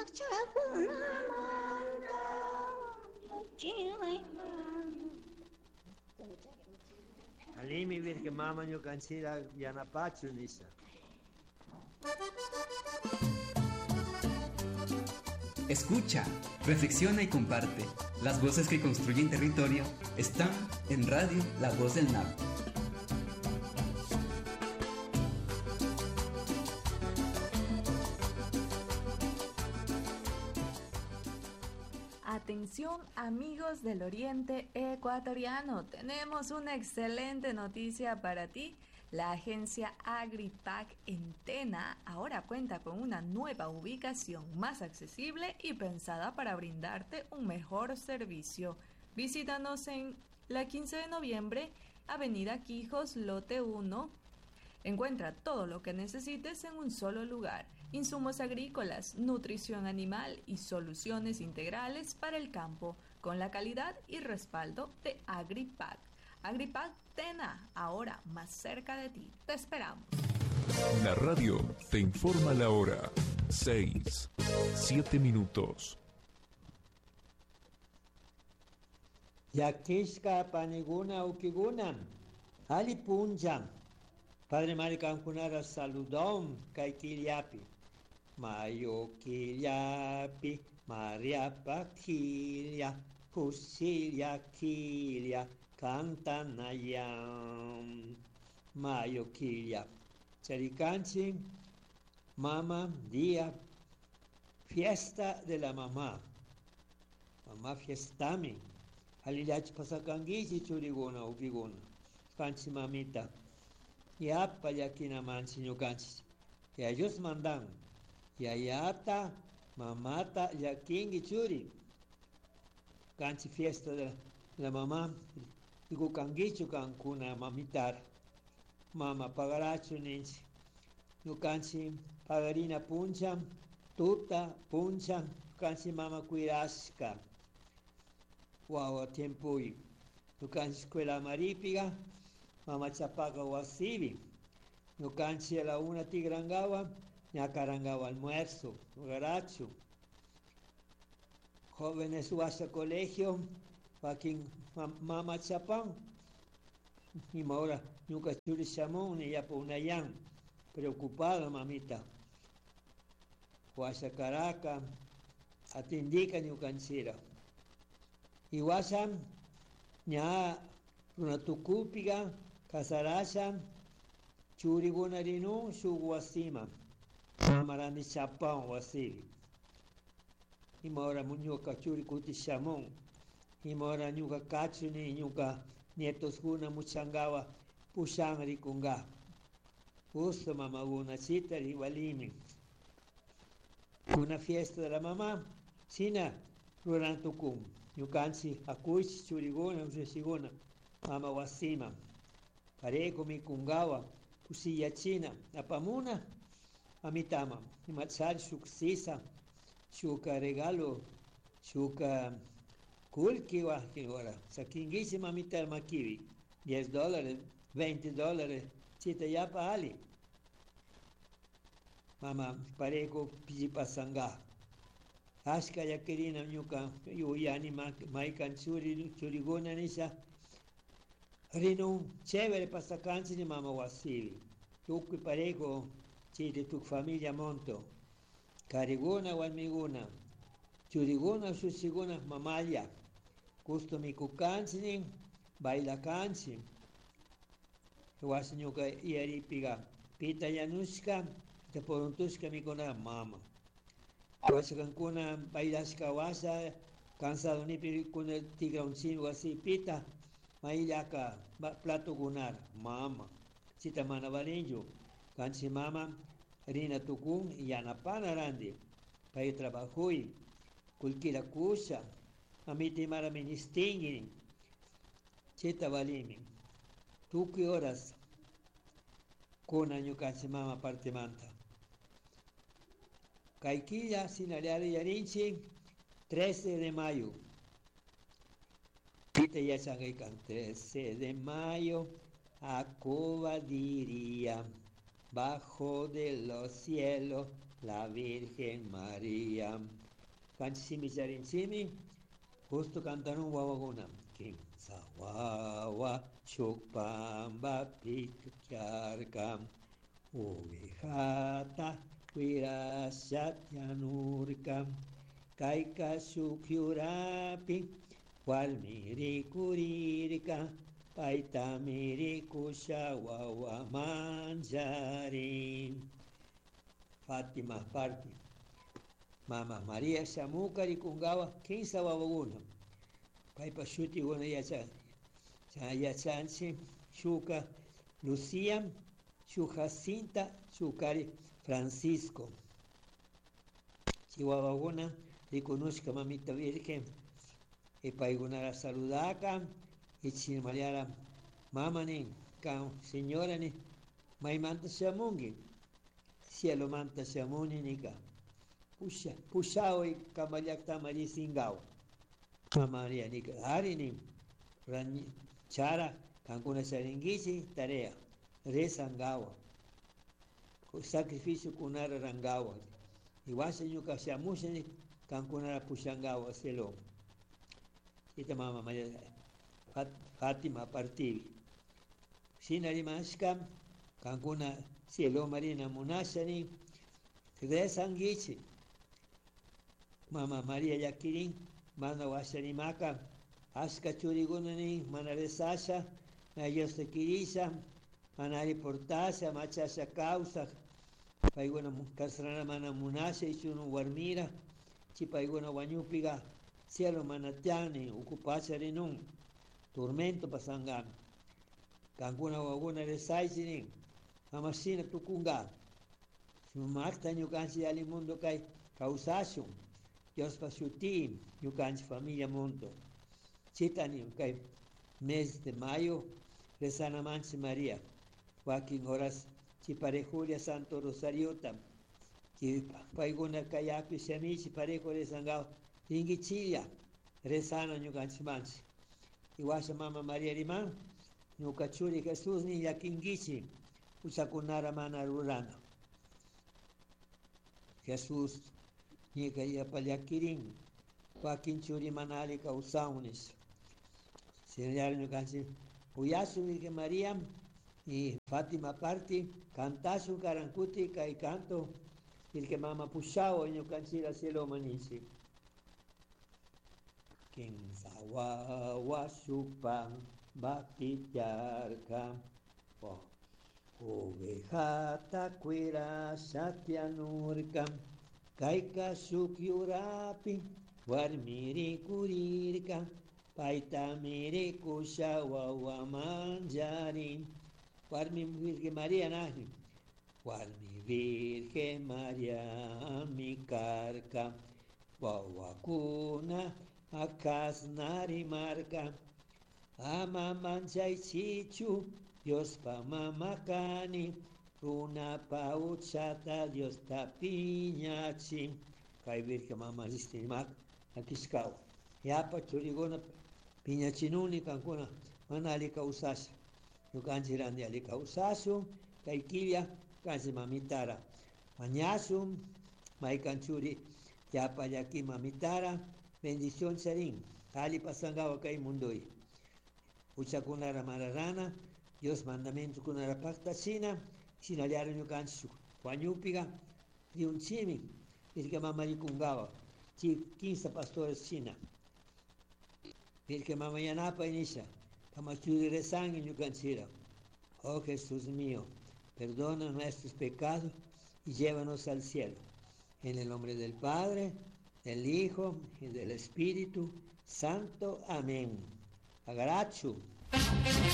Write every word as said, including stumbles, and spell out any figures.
Wakchakunamanta Alimi virke mama ñukanchira yanapachu nisha. Escucha, reflexiona y comparte. Las voces que construyen territorio están en Radio La Voz del Napo. Atención amigos del Oriente Ecuatoriano, tenemos una excelente noticia para ti. La agencia AgriPac en Tena ahora cuenta con una nueva ubicación más accesible y pensada para brindarte un mejor servicio. Visítanos en la quince de noviembre, Avenida Quijos, Lote uno. Encuentra todo lo que necesites en un solo lugar. Insumos agrícolas, nutrición animal y soluciones integrales para el campo, con la calidad y respaldo de AgriPac. AgriPac Tena, ahora más cerca de ti. Te esperamos. La radio te informa la hora. Seis, siete minutos. Yakishka paniguna ukiguna, ali punja. Padre Maricankunara saludón kaikiliapi. Mayo kiliapi, Maria Paquilia, Cusilia Quilia, Cantanayam. Mayo Quilia. Charicanchi, mama, día, fiesta de la mamá. Mamá fiestami. Alilach pasacanguichi churiguna, upiguna. Canchi mamita. Yapa yakina manchi ñukanchi. Y ellos mandan. Yayata, mamata, yakingi churi. Canchi fiesta de la, la mamá. Digo canguichu cancuna mamitar. Mama pagarachu ninchi. Ñukanchi pagarina puncha, tuta puncha, canchi mama cuirasca. Guau, tiempo y. Ñukanchi escuela maripiga. Mama chapaca wasibi. Ñukanchi a la una tigrangawa, ñacarangawa almuerzo, garacho. Jóvenes huasa colegio, joaquín mama chapán. Y ahora ñuka churi chamón ni ya punayán. Preocupada mamita. Huasa Caraca, atindica ñukanchira. Y huasa ña runatucupiga, casarasha, churigunarinu, shuguasima. Mamarani chapán wasibi. Y ahora ñuka churi chamón. Y ahora ñuka cachuni, ñuka nietos guna muchangawa, pushan rikunga. Gusto mamaguna chita igualimi. Una fiesta de la mamá, sina rurantukum. Ñukanchi akuchi churiguna, ushiguna, mama wasima. Pareco mi kungawa, kusilla china, apamuna, amitama. Imachar shuksisa, shuka regalo, shuka kulkiwa, kiwara. Sakingishi mamita makibi. diez dólares, veinte dólares, chita yapa ali. Mama, pareco pijipasanga. Ashka yakirina ñuka yuyani maikan churi churiguna nisha. Rinu chévere pasakanchi ni mama wasibi. Tukuy pareco chiri tu familia monto. Kariguna walmiguna. Churiguna sushiguna mamaya. Gusto mikukanchi ni baila kanchi. Wasi ñuka yaripiga. Pita yanushka, te poruntushka mikuna mama. Wasi kankuna bailashka wasa, cansado nipi kuna tigra un chingo así pita, maillaka plato gunar, mama. Chita mana valinju, kanchi mama, rina tukun, yanapana randi. Pay trabajuy, kulkila kusha, mamiti mara ministingini, chita valimi. Tukuy horas, kuna ñukanchi mama parte manta. Kaikilla, Sinaleari Yarinchi, trece de mayo. Pita yachangaikan, trece de mayo, a Cuba diría, bajo de los cielos, la Virgen María. Kanchimi charinchimi, justo cantaron wawakuna. Kimsa wawa shuk pambapi tiarca, ovejata cuirasha tianurca, kayka shuk yurapi warmi rikurirka, paytami rikusha wawa mancharin. Fátima parti. Mama María shamuka rikunkawa kinsa wawakuna. Paypa shutikuna yacha yachanchik shuka Lucía, shuk Jacinta, shukari Francisco. Chay wawakuna rikunushka mamita Virgen y paykunara saludaka y chinmallara mama nin kan señora nin maymanta shamunki cielomanta shamuni nika pusha pushaway kanpak llaktaman risinkawa mama María nika ari nin chara kankuna charinkichik tarea rezankawa sacrificio kunara rankawa y washa ñuka shamusha kankunara pushankawa cielo. Chayta mama María Fátima partivi. Shina rimashka kankuna cielo rina munasha nin rezankichik. Mama María llakirin mana washa rimaka ashka churikuna nin mana rezasha mana Diosta kirisha mana alli portasha machasha kawsak paykuna kasrana mana munasha ichunu warmira chay paykuna wañupika cielo mana tiyan nin uku pacha rinun tormento pasankami kankuna wawakuna rezaychik nin ama shina tukunka sumakta ñukanchik alli mundo kay kawsashun Diospa shuti ñukanchik familia mundo chayta nin kay mes de mayo rezanamanchik María wakin horas chay parejulla Santo Rosariota chay paykuna kayapi shamichik parejo rezankawa rinkichilla rezana ñukanchikmanchik y washa mama María riman ñuka churi Jesús nin llakinkichik huchakunara mana rurana. Jesús ñika yapa llakirin wakin churi mana alli kawsawun nisha. Shinallara ñukanchik uyashun Virgen María y Fátima parti cantashun karankuti kay canto Virgen Mama pushawa ñukanchik cieloman ninchik. Kimsa wawa shuk pambapi tiarka ovejata cuirasha tianurka kayka shuk yurapi warmi rikurirka paytami rikusha wawa mancharin. Warmi Virgen María nani warmi Virgen María mi karka wawakuna akasna rimarka ama manchaychichu Diospa mama kani runapa huchata Diosta piñachin. Kay Virgen Mama rimak akishkawa yapa churikuna piñachinuni kankuna mana alli kawsasha ñukanchik ranti alli kawsashun kay killa ñukanchik mamitara mañashun maykan churi yapa llaki mamitara bendición charin alli pasankawa kay mundoy huchakunara mana rana Dios mandamientokunara paktachina shinallara ñukanchik wañupika riunchimi Virgen Mama rikunkawa chay kinsa pastores shina Virgen Mama yanapay nisha kama churi rezanki ñukanchira. Oh Jesús mío, perdona nuestros pecados y llévanos al cielo. En el nombre del Padre, del Hijo y del Espíritu Santo. Amén. Agarachu.